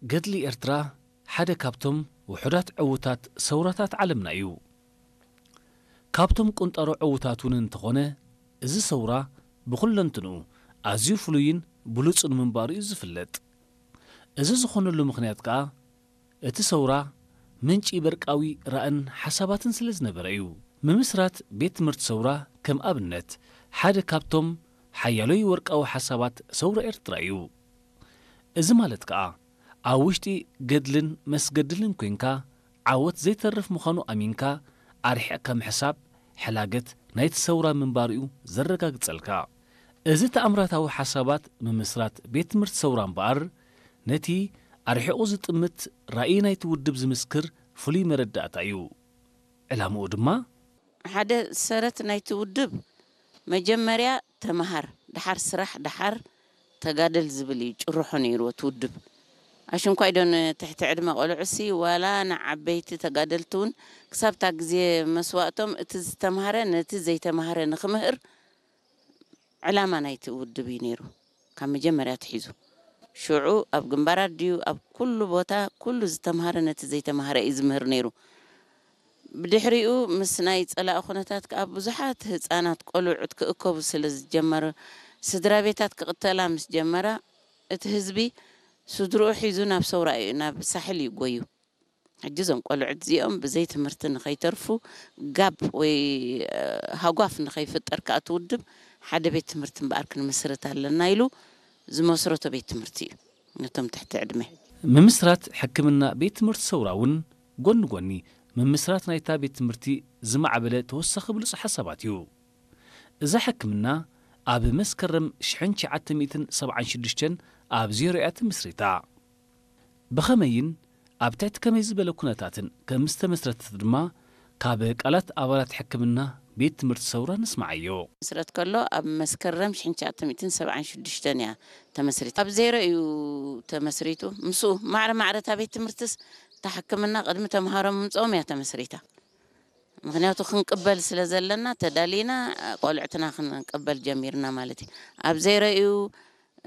ገድሊ ኤርትራ ሓደ ካብቶም ውሑዳት ዕዉታት ሰውራታት ዓለምና እዩ። ካብቶም ቁንጣሮ ዕዉታት እውን እንተኾነ፣ እዚ ሰውራ ብኹለንትንኡ ኣዝዩ ፍሉይን ብሉጽን ምንባሩ እዩ ዝፍለጥ። እዚ ዝኾነሉ ምኽንያት ከኣ፣ እቲ ሰውራ ምንጪ በርቃዊ ራእን ሓሳባትን ስለ ዝነበረ እዩ። ምምስራት ቤት ትምህርቲ ሰውራ ከም ኣብነት ሓደ ካብቶም ሓያሎይ ወርቃዊ ሓሳባት ሰውራ ኤርትራ እዩ። እዚ ማለት ከኣ፣ ኣብ ውሽጢ ገድልን መስገድልን ኮንካ ዓወት ዘይተርፍ ምዃኑ ኣሚንካ ኣርሒቕካ ምሕሳብ ሕላገት ናይቲ ሰውራ ምንባሩ እዩ ዘረጋግጸልካ። እዚ ተኣምራታዊ ሓሳባት ምምስራት ቤት ትምህርቲ ሰውራ እምበኣር፣ ነቲ ኣርሒቑ ዝጥምት ራእይ ናይቲ ውድብ ዝምስክር ፍሉይ መረዳእታ እዩ። ዕላምኡ ድማ፣ ሓደ ሰረት ናይቲ ውድብ መጀመርያ ተምሃር፣ ደሓር ስራሕ፣ ደሓር ተጋደል ዝብል እዩ ጭርሖ ነይሩ እቲ ውድብ። ኣሽንኳይ ዶ ንትሕቲ ዕድመ ቆልዑሲ ዋላ ንዓበይቲ ተጋደልቲ እውን ክሳብ እታ ግዜ መስዋእቶም እቲ ዝተምሃረ ነቲ ዘይተምሃረ ንኽምህር ዕላማ ናይቲ ውድብ እዩ ነይሩ። ካብ መጀመርያ ኣትሒዙ ሽዑ ኣብ ግንባራት ድዩ ኣብ ኩሉ ቦታ ኩሉ ዝተምሃረ ነቲ ዘይተምሃረ እዩ ዝምህር ነይሩ። ብድሕሪኡ ምስ ናይ ጸላኢ ኩነታት ከኣ ብዙሓት ህጻናት ቆልዑት ክእከቡ ስለ ዝጀመረ፣ ስድራ ቤታት ክቕተላ ምስ ጀመራ፣ እቲ ህዝቢ ስድርኡ ሒዙ ናብ ሰውራ እዩ፣ ናብ ሳሕል እዩ ጎዩ። ሕጂ እዞም ቆልዑት እዚኦም ብዘይ ትምህርቲ ንኸይተርፉ፣ ጋብ ወይ፣ እ፣ ሃጓፍ ንኸይፍጠር ከኣ እቲ ውድብ ሓደ ቤት ትምህርቲ እምበኣር ክንምስርት ኣለና ኢሉ ዝመስረቶ ቤት ትምህርቲ እዩ ነቶም ትሕቲ ዕድመ። ምምስራት ሕክምና ቤት ትምህርቲ ሰውራ እውን ጎኒ ጎኒ ምምስራት ናይታ ቤት ትምህርቲ ዝማዕበለ ተወሳኺ ብሉጽ ሓሳባት እዩ። እዛ ሕክምና ኣብ መስከረም ሽሕን ትሽዓተ ሚእትን ሰብዓን ሽዱሽተን ኣብ ዜሮ እያ ተመስሪታ። ብኸመይን ኣብ ትሕቲ ከመይ ዝበለ ኩነታትን ከም ዝተመስረተት ድማ ካብ ቃላት ኣባላት ሕክምና ቤት ትምህርቲ ሰውራ ንስምዓዮ። መስረት ከሎ ኣብ መስከረም ሽሕን ትሽዓተ ሚእትን ሰብዓን ሽዱሽተን እያ ተመስሪታ። ኣብ ዜሮ እዩ ተመስሪቱ። ምስኡ ማዕረ ማዕረ እታ ቤት ትምህርትስ እታ ሕክምና ቅድሚ ተምሃሮ ምምፅኦም እያ ተመስሪታ። ምኽንያቱ ክንቅበል ስለ ዘለና ተዳሊና ቆልዕትና ክንቅበል ጀሚርና ማለት እዩ። ኣብ ዜሮ እዩ።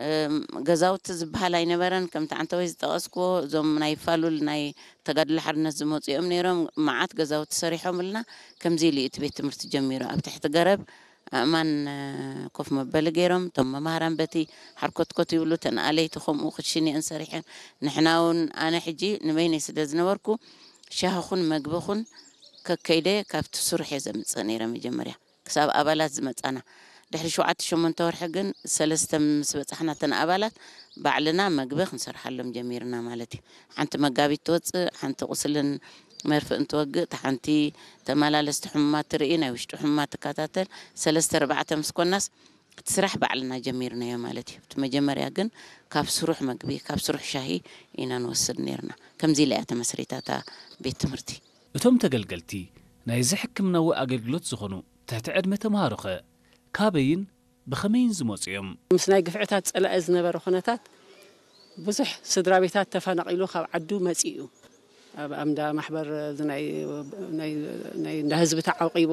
እም፣ ገዛውቲ ዝበሃል ኣይነበረን። ከምቲ ዓንተወይ ዝጠቐስክዎ፣ እዞም ናይ ፋሉል ናይ ተጋድሎ ሓርነት ዝመፁ እዮም ነይሮም። መዓት ገዛውቲ ሰሪሖምልና። ከምዚ ኢሉ እዩ እቲ ቤት ትምህርቲ ጀሚሩ። ኣብ ትሕቲ ገረብ ኣእማን፣ እ፣ ኮፍ መበሊ ገይሮም። እቶም መማህራን በቲ ሓርኮትኮት ይብሉ፣ እተን ኣለይቲ ከምኡ ክሽኒአን ሰሪሐን። ንሕና እውን፣ ኣነ ሕጂ ንበይነይ ስለ ዝነበርኩ፣ ሻሂኹን መግብኹን ከከይደ ካብቲ ስሩሕ እየ ዘምፅእ ነይረ መጀመርያ። ክሳብ ኣባላት ዝመጻና። ድሕሪ ሸውዓተ ሸሞንተ ወርሒ ግን ሰለስተ ምስ በጻሕና እተን ኣባላት ባዕልና መግቢ ክንሰርሓሎም ጀሚርና ማለት እዩ። ሓንቲ መጋቢት ትወጽእ፣ ሓንቲ ቁስልን መርፍእን ትወግእ፣ እታ ሓንቲ ተመላለስቲ ሕሙማት ትርኢ፣ ናይ ውሽጢ ሕሙማት ትከታተል። ሰለስተ ኣርባዕተ ምስ ኮናስ እቲ ስራሕ ባዕልና ጀሚርናዮ ማለት እዩ። እቲ መጀመርያ ግን ካብ ስሩሕ መግቢ፣ ካብ ስሩሕ ሻሂ ኢና ንወስድ ነይርና። ከምዚ ኢላ እያ ተመስሪታ እታ ቤት ትምህርቲ። እቶም ተገልገልቲ ናይዚ ሕክምናዊ ኣገልግሎት ዝኾኑ ትሕቲ ዕድመ ተምሃሮኸ ካበይን ብኸመይን ዝመጹ እዮም? ምስ ናይ ግፍዕታት ጸላኢ ዝነበረ ኩነታት ብዙሕ ስድራ ቤታት ተፈናቒሉ ካብ ዓዱ መጺኡ እዩ። ኣብ ኣምዳ ማሕበር እዚ ናይ፣ ናይ፣ ናይ እንዳ ህዝቢ ተዓቂቡ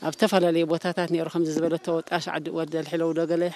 ኣብ ዝተፈላለዩ ቦታታት ነይሩ። ከምዚ ዝበለቶ ወጣሽ ዓዲ ወደ ልሕለው ዶ ገለ